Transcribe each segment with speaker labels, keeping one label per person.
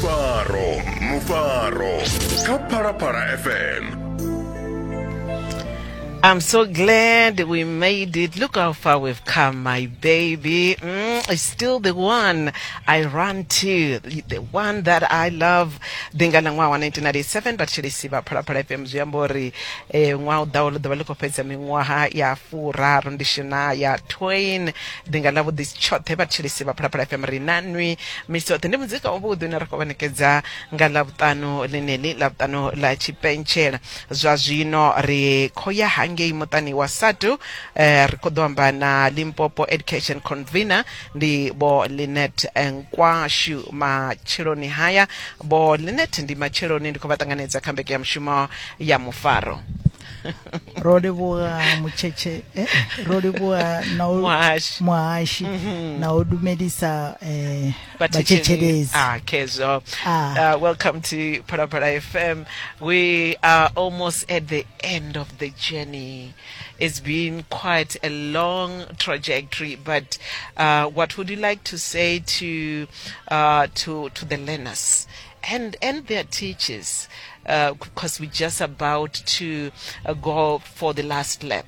Speaker 1: Mufaro, Mufaro kha Phalaphala FM.
Speaker 2: I'm so glad we made it. Look how far we've come, my baby. It's still the one I run to, the one that I love. Ndi nga ḽa ṅwaha wa 1997 vhathetshelesi vha Phalaphala FM zwi amba uri eh, ṅwaha u ḓaho ḽi ḓovha ḽi khou fhedza miṅwaha ya furaru ndi Shania Twain. Ndi nga ḽa vhuḓi tshoṱhe vhathetshelesi vha Phalaphala FM ri na nwi misi yoṱhe. Ndi muzika wavhuḓi une ra khou vha ṋekedza nga Ḽavhuṱanu ḽeneḽi, Ḽavhuṱanu ḽa tshipentshela. Zwa zwino ri khou ya hangei muṱani wa SADTU, eh, ri khou ḓo amba na Limpopo Education Convener ndi Vho Lynette Nkwashu matsheloni haya. Vho Lynette, ndi matsheloni, ndi khou vha ṱanganedza kha mbekanyamushumo ya Mufaro.
Speaker 3: Ro livhuwa mutshetshe, ro livhuwa na u
Speaker 2: Muhashi.
Speaker 3: Muhashi na u lumelisa vhathetshelesi.
Speaker 2: Ah, Kezo.
Speaker 3: Ah.
Speaker 2: Welcome to Phalaphala FM. We are almost at the end of the journey. It's been quite a long trajectory, but what would you like to say to the learners and their teachers? Because we're just about to go for the last lap.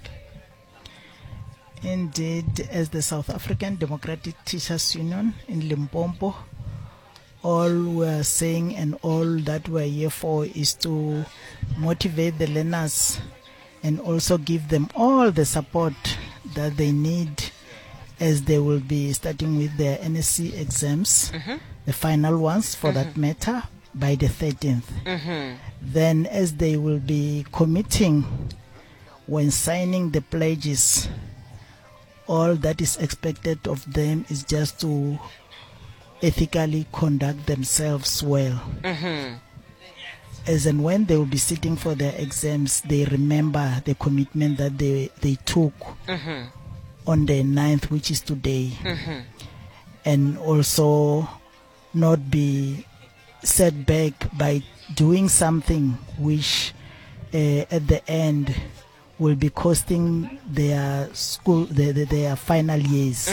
Speaker 3: Indeed, as the South African Democratic Teachers Union in Limpopo, all we are saying and all that we are here for is to motivate the learners and also give them all the support that they need as they will be starting with their NSC exams, the final ones for that matter, by the 13th. Then as they will be committing when signing the pledges, all that is expected of them is just to ethically conduct themselves well. As and when they will be sitting for their exams, they remember the commitment that they took on the 9th, which is today. And also not be set back by doing something which at the end will be costing their school, their final years.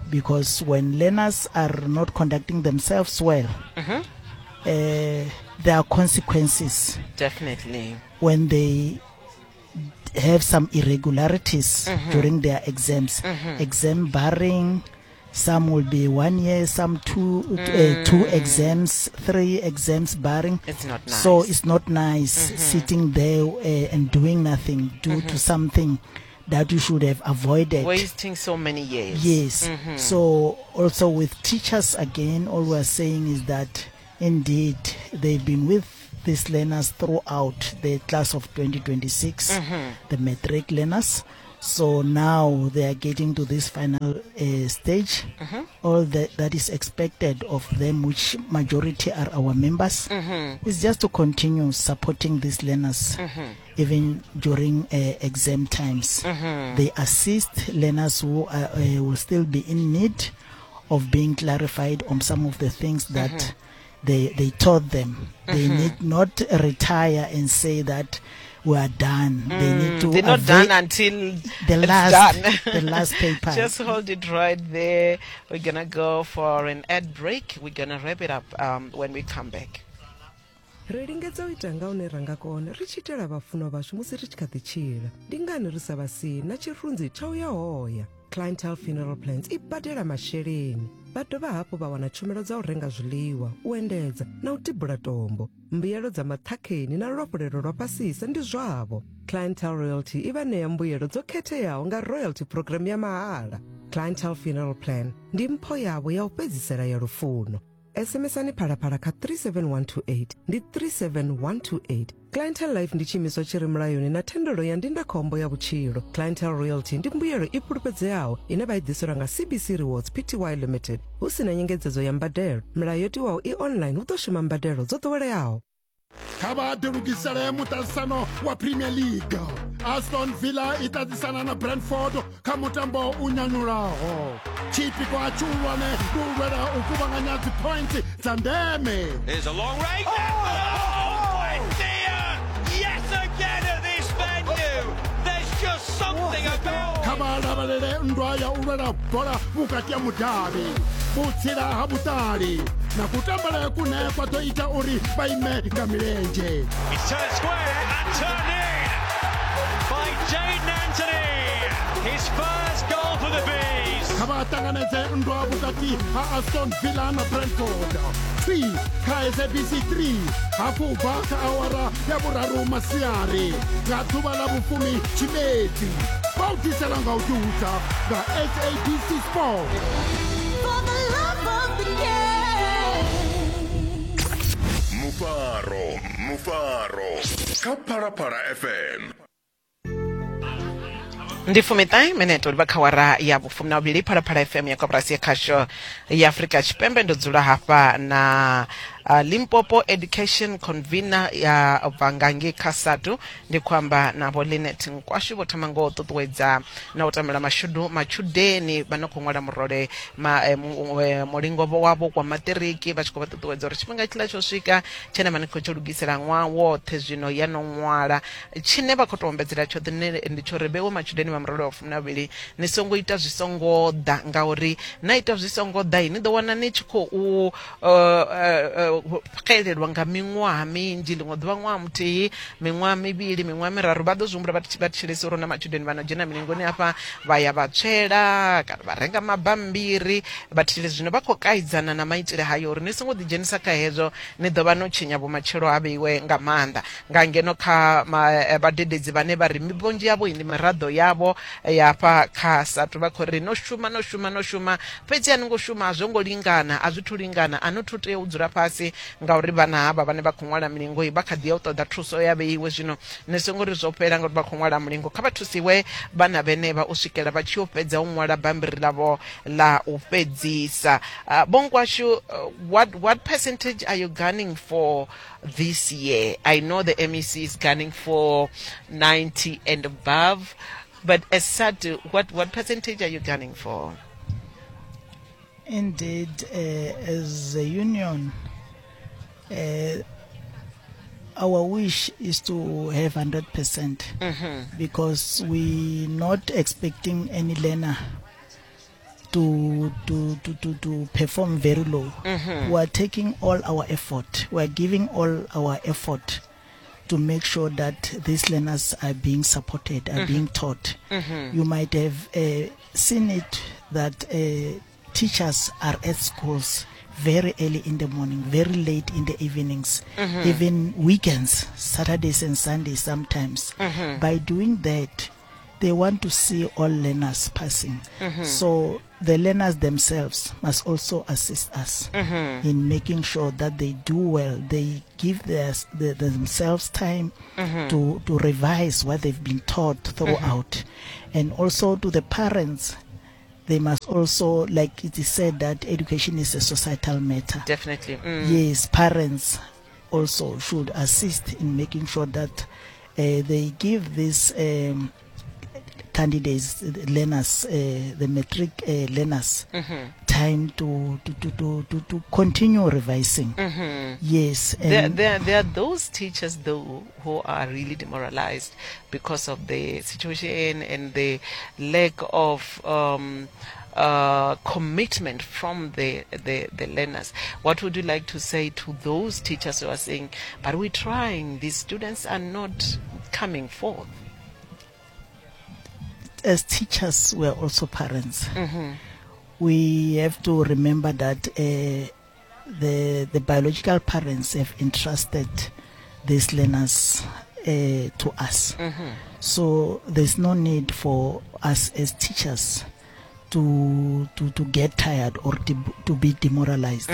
Speaker 3: Because when learners are not conducting themselves well, there are consequences.
Speaker 2: Definitely.
Speaker 3: When they have some irregularities during their exams, exam barring, some will be 1 year, some two exams, 3 exams barring.
Speaker 2: It's not nice.
Speaker 3: So it's not nice sitting there and doing nothing due to something that you should have avoided.
Speaker 2: Wasting so many years.
Speaker 3: Yes. So also with teachers again, all we're saying is that indeed they've been with these learners throughout the class of 2026, the matric learners. So now they are getting to this final stage. All that is expected of them, which majority are our members, is just to continue supporting these learners, even during exam times. They assist learners who will still be in need of being clarified on some of the things that they taught them. They need not retire and say that we are done. They need to
Speaker 2: They're not done until
Speaker 3: the
Speaker 2: it's
Speaker 3: last,
Speaker 2: done.
Speaker 3: the last paper.
Speaker 2: Just hold it right there. We're gonna go for an ad break. We're gonna wrap it up when we come back.
Speaker 4: Ri lingedza u ita nga hune ra nga kona ri tshi itela vhafunwa vhashu musi ri tshi kha ḓi tshila. Ndi ngani ri sa vha sii na tshirunzi tsha u ya hoya? Clientele Funeral Plans i badela masheleni, vha dovha hafhu vha wana tshumelo dza u renga zwiḽiwa, u endedza na u tibula tombo. Mbuyelo dza maṱhakheni na luafhulelo lwa fhasisa ndi zwavho. Clientele Royalty i vha ṋea mbuyelo dzo khetheaho nga royalty program ya mahala. Clientele Funeral Plan ndi mpho yavho ya u fhedzisela ya lufuno. SMS-ani Phalaphala kha 37128, ndi 37128. Clientele Life ndi tshiimiswa tshi re mulayoni na thendelo ya ndindakhombo ya vhutshilo. Clientele Royalty ndi mbuyelo i fhulufhedzeaho ine vha i ḓiselwa nga CBC Rewards Pty Limited hu si na nyengedzedzo ya mbadelo. Milayo yo tiwaho i online, hu ḓo shuma mbadelo dzo ḓoweleaho.
Speaker 5: Kha vha ḓilugisele muṱaṱisano wa Premier League. Aston Villa i ṱaṱisana na Brentford kha mutambo u nyanyulaho. Tshipikwa tshihulwane ndi u lwela u kuvhanganya dzi points dza ndeme.
Speaker 6: Here's a long range. Oh, my dear! Yet again at this venue. There's just something about.
Speaker 5: Kha vha lavhelele nndwa ya u lwela bola vhukati ha mudavhi, vhutsila ha vhuṱali. Na kutambele kune kwa ḓo ita uri vha ime nga milenzhe.
Speaker 6: It's turned square and turned in by Jaden Anthony. His first goal for the Bees.
Speaker 5: Kha vha ṱanganedze nndwa vhukati ha Aston Villa na Brentford. Twi kha SABC 3 hafhu u bva kha awara ya vhuraru masiari nga ḓuvha ḽa vhufumi Tshimedzi. Vha u ḓisela nga u ḓihudza nga SABC Sport.
Speaker 7: For the love of the game.
Speaker 1: Mufaro, mufaro kha Phalaphala FM.
Speaker 2: Ndi fumiṱahe minete u livha kha wara ya vhufumi na vhuvhili Phalaphala FM ya koporasi ya khasho ya Afrika Tshipembe. Ndo dzula hafha na Limpopo Education Convener ya bva nga ngei kha SADU. Ndi khou amba na Vho Linet Nkwashu. Vho thoma ngo ṱuṱuwedza na u tambela mashudu matshudeni vha no khou ṅwala murole ma, eh, mu- eh, mulingo wavho kwa maṱiriki, vha tshi khou vha ṱuṱuwedza uri tshifhinga tshiḽa tsho swika tshine vha ni khou tshi lugisela ṅwaha woṱhe, zwino ya no ṅwala. Tshine vha khou tou ombedzela tshoṱhe ndi tsho uri vhewe matshudeni vha murole wa fumi na vhuvhili ni songo ita zwi songo ḓa, ngauri na ita zwi songo ḓa ni ḓo wana ni tshi khou xelelwa nga miṅwaha minzhi. Ḽiṅwe ḓuvha ṅwaha muthihi, miṅwaha mivhili, miṅwaha miraru, vha ḓo zwi humbula vha thetshelesi uri hu na matshudeni vha no dzhena milingoni hafha vha ya vha tswela kana vha renga mabammbiri vha thetshelesi. Zwino vha khou kaidzana na maitele hayo uri ni songo ḓidzhenisa kha hezwo, ni ḓo vha no tshinya vhumatshelo ha vheiwe nga maanḓa. Nga ngeno kha vhadededzi vhane vha ri vhunzhi havho ndi miraḓo yavho ya hafha kha SATU, vha khou ri no shuma, no shuma, no shuma, fhedzi a ni ngo shuma, a zwo ngo lingana, a zwi thu lingana, a no thu tea u dzula fhasi ngauri vhana havha vhane vha khou ṅwala milingo vha kha ḓi ya u ṱoḓa thuso ya vheiwe. Zwino ni songo ri zwo fhela ngauri vha khou ṅwala mulingo, kha vha thusiwe vhana vhenevha u swikela vha tshi yo fhedza u ṅwala bammbiri ḽavho ḽa u fhedzisa. Vho Nkwashu, what percentage are you gunning for this year? I know the MEC is gunning for 90 and above, but as SADU, what percentage are you gunning for?
Speaker 3: Indeed, as a union, our wish is to have 100%, because we're not expecting any learner to perform very low. We are taking all our effort. We are giving all our effort to make sure that these learners are being supported, are being taught. You might have seen it that teachers are at schools very early in the morning, very late in the evenings, even weekends, Saturdays and Sundays sometimes. By doing that, they want to see all learners passing. So the learners themselves must also assist us in making sure that they do well. They give themselves time to revise what they've been taught throughout. And also to the parents, they must also, like it is said, that education is a societal matter.
Speaker 2: Definitely.
Speaker 3: Yes, parents also should assist in making sure that they give these candidates, learners, the matric learners, time to continue revising. Yes. And
Speaker 2: there are those teachers, though, who are really demoralized because of the situation and the lack of commitment from the learners. What would you like to say to those teachers who are saying, but we're trying, these students are not coming forth?
Speaker 3: As teachers, we are also parents. We have to remember that the biological parents have entrusted these learners to us. So there's no need for us as teachers to get tired or to be demoralized.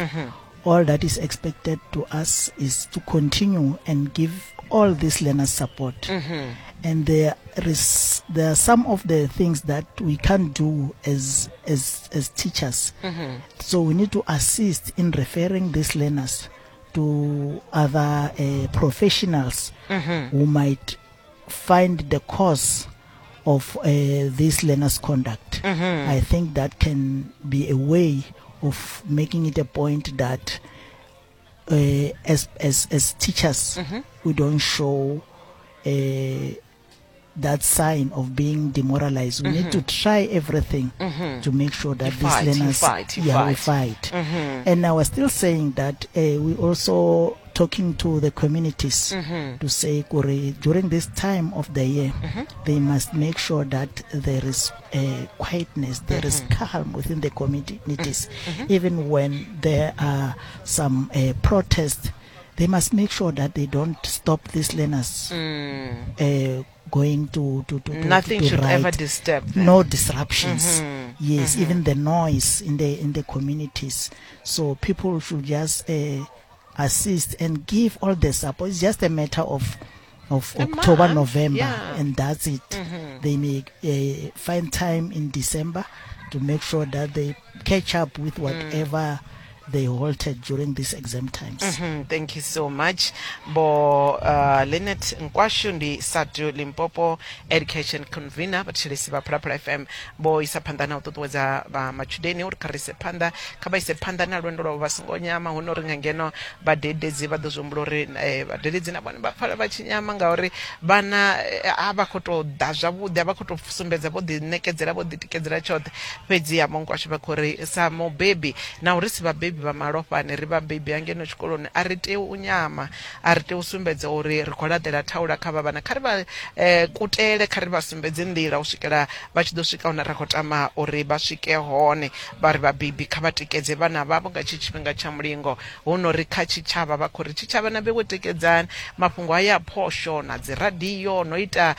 Speaker 3: All that is expected to us is to continue and give all these learners support. And there are some of the things that we can't do as teachers. So we need to assist in referring these learners to other professionals who might find the cause of this learners' conduct. I think that can be a way of making it a point that as teachers, we don't show that sign of being demoralized. We need to try everything to make sure that
Speaker 2: You
Speaker 3: these
Speaker 2: fight, you
Speaker 3: learners,
Speaker 2: fight, you
Speaker 3: yeah, we
Speaker 2: fight.
Speaker 3: fight. And I was still saying that we also talking to the communities to say, Kore, during this time of the year, they must make sure that there is quietness, there is calm within the communities. Even when there are some protests, they must make sure that they don't stop these learners going to
Speaker 2: Nothing
Speaker 3: to
Speaker 2: should ever
Speaker 3: write.
Speaker 2: disturb them.
Speaker 3: No disruptions. Yes, even the noise in the communities. So people should just assist and give all the support. It's just a matter of
Speaker 2: A
Speaker 3: October,
Speaker 2: month,
Speaker 3: November, and that's it. They may find time in December to make sure that they catch up with whatever they halted during these exam times.
Speaker 2: Thank you so much bo Lenet Nkwashu ndi SADTU Limpopo education convener vhathetshelesi vha Phalaphala FM vho isa phanḓa na u ṱuṱuwedza vha matshudeni uri kha ri ise phanḓa kha vha ise phanḓa na lwendo lwavho vha songo nyama hu no ri nga ngeno vhadededzi vha ḓo zwi humbula uri vhadededzi na vhone vha pfala vha tshi nyama ngauri vhana a vha khou tou ḓa zwavhuḓi a vha khou tou sumbedza vho ḓiṋekedzela vho ḓitikedzela tshoṱhe fhedzi ya Nkwashu vha khou ri sa mubebi na uri si vhabebi vha malofhani ri vhabebi hangeno tshikoloni a ri tei u nyama a ri tei u sumbedza uri ri khou laṱela thaula kha vha vhana kha ri vha kutele kha ri vha sumbedze nḓila u swikela vha tshi ḓo swika hune ra khou tama uri vha swike hone vha ri vhabebi kha vha tikedze vhana vhavho nga tshi tshifhinga tsha mulingo hu no ri kha tshitshavha vha khou ri tshitshavha na vhewe tikedzani mafhungo haya a phosho na dzi radio no ita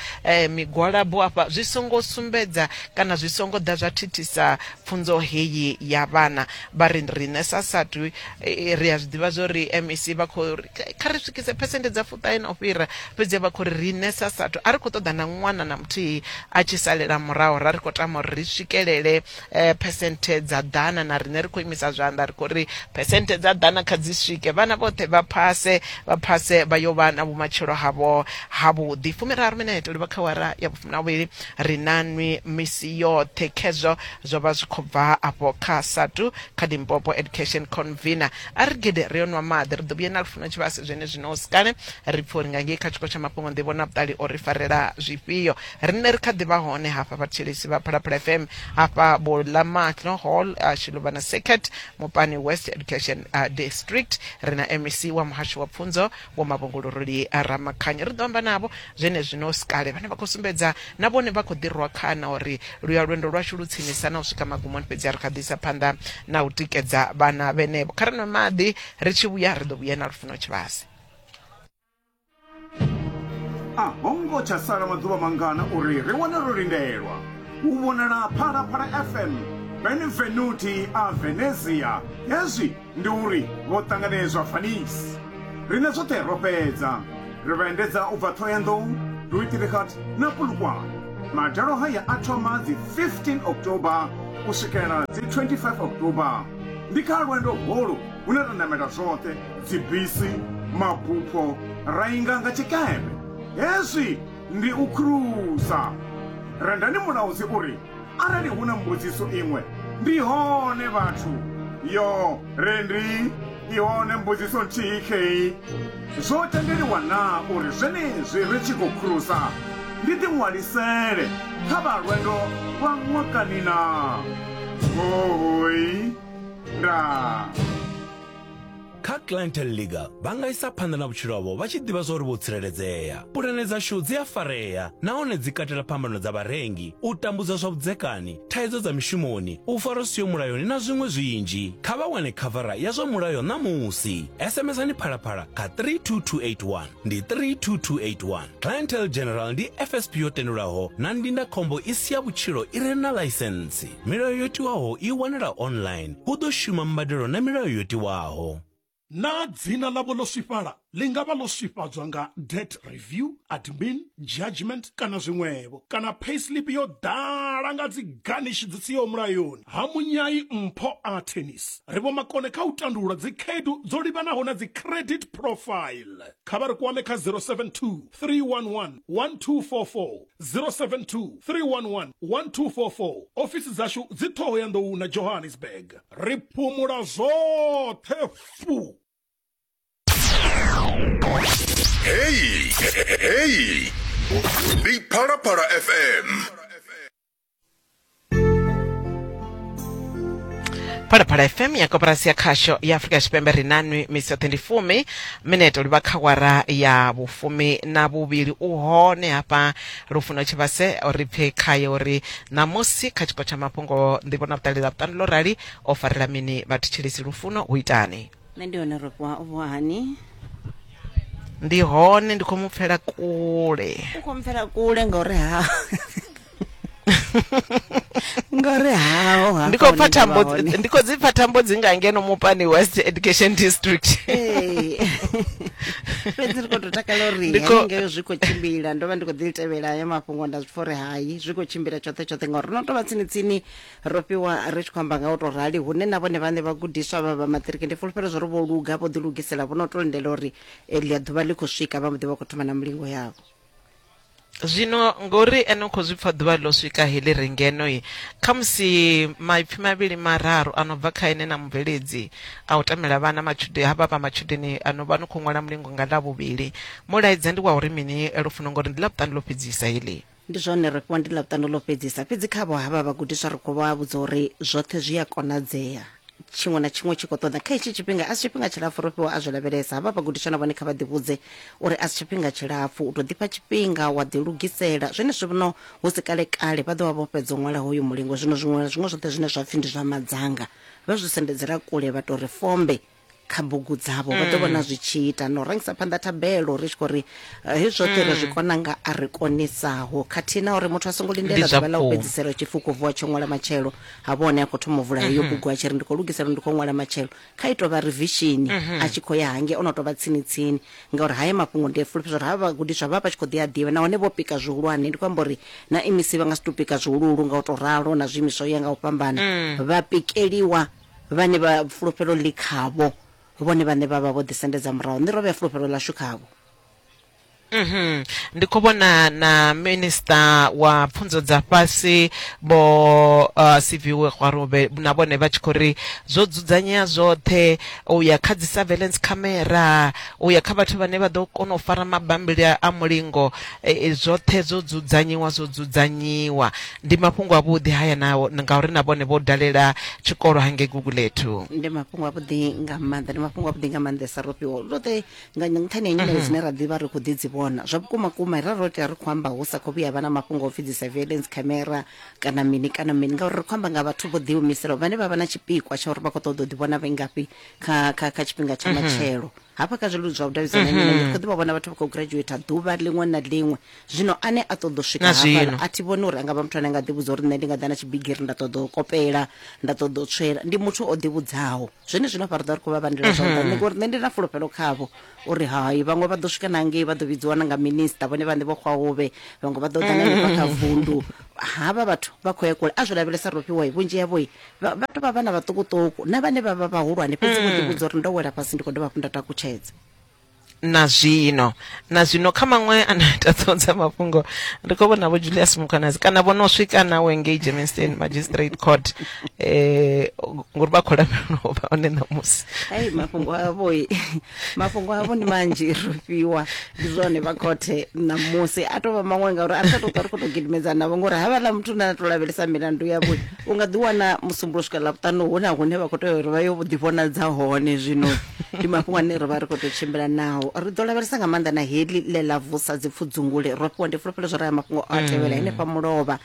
Speaker 2: migwalabo afha zwi songo sumbedza kana zwi songo ḓa zwa thithisa pfunzo heyi ya vhana vha ri riṋe sa SADTU ri a zwi ḓivha zwo ri MEC vha khou ri kha ri swikise phesenthe dza fuṱahe na u fhira fhedzi vha khou ri riṋe sa SADTU a ri khou ṱoḓa na ṅwana na muthihi a tshi salela murahu ra ri khou tama uri ri swikelele phesenthe dza ḓana na riṋe ri khou imisa zwanḓa ri khou ri phesenthe dza ḓana kha dzi swike vhana vhoṱhe vha phase vha phase vha yo vha na vhumatshelo havho havhuḓi 30 minete u livha kha wara ya vhufumi na vhuvhili ri na nwi misi yoṱhe khezwo zwo vha zwi khou bva afho kha SADTU kha Limpopo Education Convener a ri gede ri yo nwa maḓi ri ḓo vhuya na Lufuno Tshivhase zwene zwino sikale ri pfhe uri nga ngei kha tshiko tsha mafhungo nḓivho na vhuṱali o ri farela zwifhio riṋe ri kha ḓi vha hone hafha vhathetshelesi vha Phalaphala FM hafha vho Lamahlo Hall Shiluvana Circuit Mupani West Education District ri na MEC wa muhasho wa pfunzo Vho Mavhunguluruli Ramakhanya ri ḓo amba navho zwenezwino sikale vhane vha khou sumbedza na vhone vha khou ḓi rwa khana uri luya lwendo lwashu lu tsinisa na u swika magumoni fhedzi ri kha ḓi isa phanḓa na u tikedza vhana vhenevho kha ri nwe maḓi ri tshi vhuya ri ḓo vhuya na Lufuno Tshivhase.
Speaker 8: A ho ngo tsha sala maḓuvha mangana uri ri wane ro lindelwa u vhonala Phalaphala FM Benvenuti a Venezia. Hezwi ndi uri vho ṱanganedzwa Venice. Riṋe zwoṱhe ro fhedza. Ri vha endedza u bva Thohoyandou, Louis-Trichardt na Polokwane. Madalo haya a thoma dzi 15 October u swikela dzi 25 October. Ndi kha lwendo holu hune ra namela zwoṱhe, dzibisi, mabupho, ra inga nga tshikepe. Hezwi ndi u khurusa. Rendani Mulaudzi uri Arali hu na mbudziso iṅwe, ndi hone vhathu. Yo, Rendi, i hone mbudziso nthihi khei. Zwo tendeliwa naa uri zwenezwi ri tshi khou khurusa ndi ḓiṅwalisele kha vha lwendo lwa ṅwakani naa? Hoooi, ndaa.
Speaker 9: Kha Clientele Legal vha nga isa phanḓa na vhutshilo havho vha tshi ḓivha zwauri vho tsireledzea. Pulane dzashu dzi a farea nahone dzi katela phambano dza vharengi, u tambudzwa zwa vhudzekani, thaidzo dza mishumoni, u farwa zwi siho mulayoni na zwiṅwe zwinzhi. Kha vha wane khavara ya zwa mulayo ṋamusi. SMSani Phalaphala kha 32281. Ndi 32281. Clientele General ndi FSP yo tendelwaho na ndindakhombo i si ya vhutshilo i re na ḽaisentsi. Milayo yo tiwaho i wanala online. Hu ḓo shuma mbadelo na milayo yo tiwaho.
Speaker 5: Naa dzina ḽavho ḽo swifhala? Ḽi nga vha ḽo swifhadzwa nga debt review, admin, judgment kana zwiṅwevho. Kana payslip yo ḓala nga dzi garnish dzi siho mulayoni. Ha Munyai Mpho Artenis, ri vhomakone kha u tandulula dzi khaedu dzo livhanaho na dzi credit profile. Kha vha ri kwame kha 072 311 1244, 072 311 1244. Ofisi dzashu dzi Ṱhohoyanḓou na Johannesburg. Ri phumula zwoṱhe fu.
Speaker 1: Heyi, heyi. Ndi Phalaphala FM.
Speaker 2: Phalaphala FM ya koporasi ya khasho ya Afrika Tshipembe. Ri nanwi misi yoṱhe ndi 10 minete livha kha wara ya 12. U hone hafha Lufuno Tshivhase, ri pfe khaye uri ṋamusi kha tshiko tsha mafhungo nḓivho na vhuṱali ḽa vhuṱanu ḽo rali o farela mini vhathetshelesi. Lufuno, hu itani?
Speaker 10: Nṋe ndi hone, Rofhiwa, u vuwa hani?
Speaker 2: Ndi hone, ndi khou mu pfela kule.
Speaker 10: U khou mpfela kule ngauri ha ngauri haho hafha
Speaker 2: Ndi khou pfa
Speaker 10: hune nda vha
Speaker 2: thambo,
Speaker 10: hone.
Speaker 2: ndi khou dzi pfa thambo dzi nga ngeno Mupani West Education District.
Speaker 10: Ee. Fhedzi ri khou tou takala uri
Speaker 2: Ndi khou-
Speaker 10: haningei zwi khou tshimbila. Ndo vha ndi khou ḓi tevhela haya mafhungo, nda zwi pfa uri hai zwi khou tshimbila tshoṱhe tshoṱhe, ngauri no tou vha tsini tsini. Ro fhiwa ri tshi khou amba nga u tou rali, hune na vhone vhaṋe vhagudiswa vha vha maṱiriki ndi fulufhelo zwo ri vho luga, vho ḓilugisela, vho no tou lindela uri ḽia ḓuvha ḽi khou swika vha mbo ḓi vha khou thoma na mulingo yavho.
Speaker 2: Zwino ngori ene u khou zwi pfa ḓuvha ḽo swika heḽi ri ngeno, khamusi maipfi mavhili mararu a no bva kha ene na mubveledzi a u tamela vhana matshudeni havha vha matshudeni ano vha no khou ṅwala mulingo nga Ḽavhuvhili. Mulaedza ndi wa uri mini, Lufuno, ngori ndi Ḽavhuṱanu ḽo fhedzisa heḽi?
Speaker 10: Ndi zwone, ro fhiwa ndi Ḽavhuṱanu ḽo fhedzisa, fhedzi khavho havha vhagudiswa ri khou vha vhudza uri zwoṱhe zwi a konadzea. Tshiṅwe na tshiṅwe tshi khou ṱoḓa kha hetshi tshifhinga, a si tshifhinga tshilapfu ro fhiwa a zwi lavhelesa. Havha vhagudiswa na vhone kha vha ḓivhudze uri a si tshifhinga tshilapfu, u tou ḓifha tshifhinga wa ḓilugisela. Zwenezwi zwino hu si kale kale vha ḓo vha vho fhedza u ṅwala hoyu mulingo. Zwino zwiṅwe na zwiṅwe zwoṱhe zwine zwa pfhi ndi zwa madzanga vha zwi sendedzela kule, vha tou ri fombe kha bugu dzavho, vha ḓo vhona zwi tshi ita. No rangisa phanḓa thabelo ri tshi khou ri hezwi zwoṱhe ri zwi kona nga a ri konisaho, khathihi na uri muthu a songo lindela
Speaker 2: Ndi zwa
Speaker 10: ḓuvha ḽa u
Speaker 2: vhukuma.
Speaker 10: fhedzisela tshi pfi u khou vuwa tshi ṅwala matshelo, ha vha hone a khou thoma u vula heyo bugu a tshi ri ndi khou lugisela, ndi khou ṅwala matshelo. Kha i tou vha revision a tshi khou ya hangei o no tou vha tsini tsini, ngauri haya mafhungo ndi a fulufhedza uri havha vhagudiswa vha vha tshi khou ḓi a ḓivha nahone vho pika zwihulwane. Ndi khou amba uri na MEC vha nga si tou pika zwihuluhulu nga u tou ralo, na zwiimiswa u ya nga u fhambana vha pikeliwa vhane vha fulufhelo ḽi khavho, vhone vhaṋe vha vha vho ḓisendedza murahu. Nṋe ro vhea fulufhelo ḽashu khavho.
Speaker 2: Ndi khou vhona na minista wa pfunzo dza fhasi Vho Siviwe Gwarube na vhone vha tshi khou ri zwo dzudzanyea zwoṱhe u ya kha dzi surveillance camera, u ya kha vhathu vhane vha ḓo kona u fara mabambiri a mulingo, zwoṱhe zwo dzudzanyiwa, zwo dzudzanyiwa. Ndi mafhungo avhuḓi haya na ngauri na vhone vho dalela tshikolo hangei Gugulethu.
Speaker 10: Ndi mafhungo avhuḓi nga maanḓa, ndi mafhungo avhuḓi nga maanḓesa Rofhiwa. Roṱhe nga nṱhani ha nyimele dzine ra ḓivha ri khou ḓi dzi vhona zwa vhukuma kuma, ra ro tea ri khou amba hu sa khou vhuya vha na mafhungo a u pfhi dzi surveillance camera kana mini kana mini, ngauri ri khou amba nga vhathu vho ḓiimiselaho vhane vha vha na tshipikwa tsha uri vha khou ṱoḓa u ḓivhona vhe ngafhi kha kha kha tshifhinga tsha matshelo. Hafha kha zwileludzi zwa vhudavhidzani nnyi na nnyi ri khou ḓi vha vhona vhathu vha khou graduate ḓuvha ḽiṅwe na ḽiṅwe. Zwino ane a ṱoḓa u swika
Speaker 2: Na
Speaker 10: hafhaḽa
Speaker 2: zwino.
Speaker 10: a thi vhoni uri a nga vha muthu ane a nga ḓivhudza uri nṋe ndi nga ḓa na tshibigiri nda ṱoḓa u kopela, nda ṱoḓa u tswela. Ndi muthu o ḓivhudzaho. Zwenezwino hafha ri ḓo ri khou vha vhandela zwanḓa, nṋe ngori nṋe ndi na fulufhelo khavho uri hai vhaṅwe vha ḓo swika na ngei vha ḓo vhidziwa na nga minisiṱa, vhone vhaṋe vho xwahuvhe, vhaṅwe vha ḓo ḓa na hanefha kha vundu. Havha vhathu vha khou ya kule, a zwi lavhelesa Rofhiwa, vhunzhi havho vha vha tou vha vhana vhaṱukuṱuku na vhane vha vha vhahulwane, fhedzi vho ḓivhudza uri ndo wela fhasi ndi khou dovha hafhu nda takutshedza.
Speaker 2: Na zwino, na zwino kha maṅwe ane a ita ṱhoho dza mafhungo ri khou vhona vho Julius Mkhwanazi kana vho no swika nawe ngei Germiston Magistrate Court, ngori vha khou lavhelelwa u vha hone ṋamusi.
Speaker 10: Ai mafhungo avho, mafhungo avho ndi manzhi Rofhiwa. Ndi zwone, vha khothe ṋamusi a tou vha maṅwe, ngauri a ri tsha tou ṱwa ri khou tou gidimedza navho, ngori havhaḽa muthu na tou lavhelesa milandu yavho u nga ḓi wana Musumbulowo swika Ḽavhuṱanu hu na hune vha khou tea uri vha yo ḓivhonadza hone. Zwino ndi mafhungo ane ri vha ri khou tou tshimbila nao, ri ḓo lavhelesa nga maanḓa na heḽi ḽe ḽa vusa dzipfudzungule Rofhiwa. Ndi fulufhelo zwo ri aya mafhungo a tevhela henefha mulovha,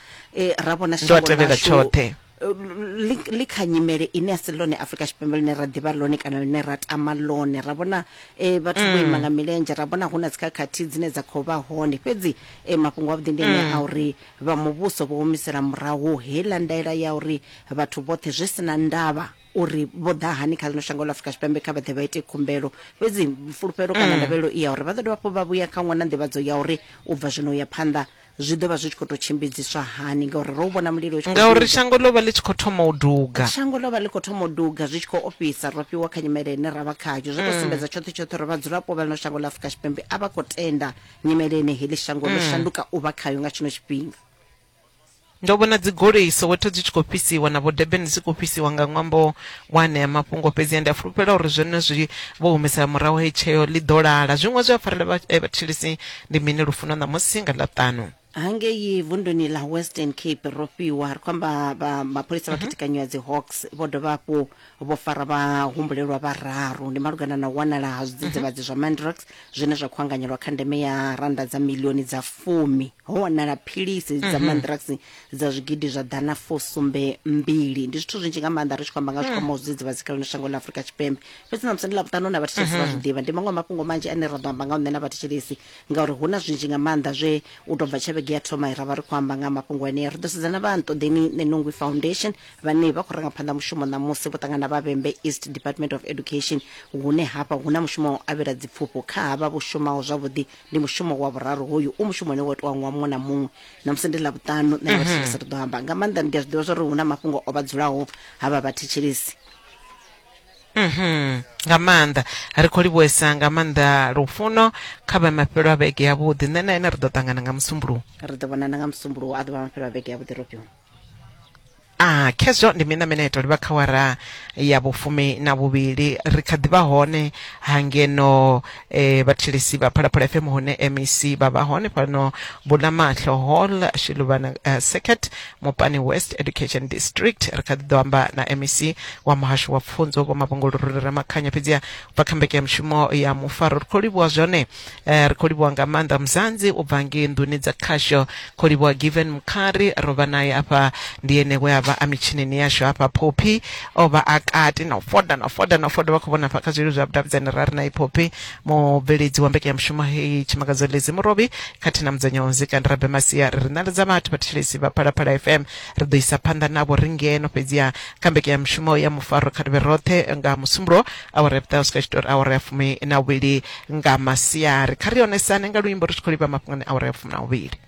Speaker 10: ra vhona
Speaker 2: Ndo a
Speaker 10: shango
Speaker 2: tevhela
Speaker 10: ḽashu
Speaker 2: tshoṱhe.
Speaker 10: Ḽi kha nyimele ine a si ḽone Afrika Tshipembe ḽine ra ḓivha ḽone kana ḽine ra tama ḽone. Ra vhona vhathu vho ima nga milenzhe, ra vhona hu na dzikhakhathi dzine dza khou vha hone, fhedzi mafhungo avhuḓi ndi ane a uri vha muvhuso vho humisela murahu heiḽa ndaela ya uri vhathu vhoṱhe zwi si na ndavha uri vho ḓa hani kha ḽino shango ḽa Afrika Tshipembe kha vha ḓe vha ite khumbelo. Fhedzi fulufhelo kana ndavhelelo i ya uri vha ḓo dovha hafhu vha vhuya kha ṅwe na nḓivhadzo ya uri u bva zwino u ya phanḓa zwi ḓo vha zwi tshi khou tou tshimbidziswa hani, ngauri ro vhona mulilo u tshi khou
Speaker 2: Ngauri
Speaker 10: duga.
Speaker 2: shango ḽo vha ḽi tshi khou thoma u duga.
Speaker 10: Shango ḽo vha ḽi khou thoma u duga, zwi tshi khou ofhisa. Ro fhiwa kha nyimele ine ra vha khayo, zwo tou sumbedza tshoṱhe tshoṱhe uri vhadzulapo vha ḽino shango ḽa Afrika Tshipembe a vha khou tenda nyimele ine heḽi shango ḽo shanduka u vha khayo nga tshino tshifhinga.
Speaker 2: Ndo vhona dzigoloi Soweto dzi tshi khou fhisiwa na vho Durban dzi khou fhisiwa nga ṅwambo wa anea mafhungo fhedzi ndi a fulufhela uri zwenezwi vho humisela murahu heyi tsheo ḽi ḓo lala. Zwiṅwe zwe a farela vhathetshelesi ndi mini Lufuno ṋamusi nga Ḽavhuṱanu?
Speaker 10: Hangei vunduni ḽa Western Cape ro fhiwa ri khou amba vha mapholisa vha khethekanyo ya dzi Hawks vho dovha hafhu vho fara vhahumbulelwa vhararu ndi malugana na u wanala ha zwidzidzivhadzi zwa Mandrax zwine zwa khou anganyelwa kha ndeme ya rannda dza milioni dza fumi. Ho wanala philisi dza Mandrax dza zwigidi zwa ḓana fusumbe mbili. Ndi zwithu zwinzhi nga maanḓa ri tshi khou amba nga zwi kwamaho zwidzidzivhadzi kha ḽino shango ḽa Afrika Tshipembe. Fhedzi ṋamusi ndi Ḽavhuṱanu na vhathetshelesi vha zwi ḓivha. Ndi maṅwe a mafhungo manzhi ane ra ḓo amba ngao nṋe na vhathetshelesi ngauri hu na zwinzhi nga maanḓa zwe u tou bva tshe vhege ya thoma ra vha ri khou amba nga ha mafhungo anea. Ri ḓo sedza na vha Nṱoḓeni Nenungwi Foundation vhane vha khou ranga phanḓa mushumo ṋamusi vho ṱangana vha Vhembe East Department of Education hune hafha hu na mushumo wa u avhela dzipfufho kha havha vho shumaho zwavhuḓi. Ndi mushumo wa vhuraru hoyu, u mushumo une wa itiwa ṅwaha muṅwe na muṅwe. Ṋamusi ndi Ḽavhuṱanu, nṋe na vhathetshelesi ri ḓo amba nga maanḓa. Ndi a zwi ḓivha zwa uri hu na mafhungo o vha dzulaho havha vhathetshelesi.
Speaker 2: Mhm. Nga maanḓa ri khou livhuwesa nga maanḓa Lufuno kha vha mafhelo a vhege yavhuḓi. Nṋe na ene ri ḓo ṱangana nga Musumbuluwo.
Speaker 10: Ri ḓo vhonana nga Musumbuluwo, a ḓo vha mafhelo a vhege yavhuḓi Rofhiwa.
Speaker 2: Ah, khezwo ndi mina mine to livha kha wara ya vhufumi na vhuvhili ri kha ḓi vha hone hangeno eh, vhathetshelesi vha Phalaphala FM hune MEC vha vha hone fhano Bulamaṱlo Hall Shiluvana Circuit Mopani West Education District. Ri kha ḓi ḓo amba na MEC wa muhasho wa pfunzo Vho Mavhungo Lurule Ramakhanya fhedziha bva kha mbekanyamushumo ya mufaro ri khou livhuwa zwone eh, ri khou livhuwa nga maanḓa Mzanzi u bva ngei nḓuni dza khasho khou livhuwa Given Mkhari ro vha naye afha ndi ene we a vha a mitshinini yashu hafha Phophi o vha a kati na u foda na u foda na u foda vha khou vhona hafha kha zwililo zwa vhudavhidzani ra ri na Phophi mubveledzi wa mbekanyamushumo heyi Tshimangadzo Lezi Murovhi khathihi na mudzanyo wa muzika ndi Rabe Masia ri ri ṋaledza vhathu vhathetshelesi vha Phalaphala FM ri ḓo isa phanḓa navho ri ngeno fhedziha kha mbekanyamushumo ya mufaro kha ri vhe roṱhe nga Musumbuluwo awara ya vhuṱahe u swika tshitori awara ya fumi na vhuvhili nga masiari. Kha ri onesane nga luimbo ri tshi khou livha mafhungoni awara ya fumi na vhuvhili.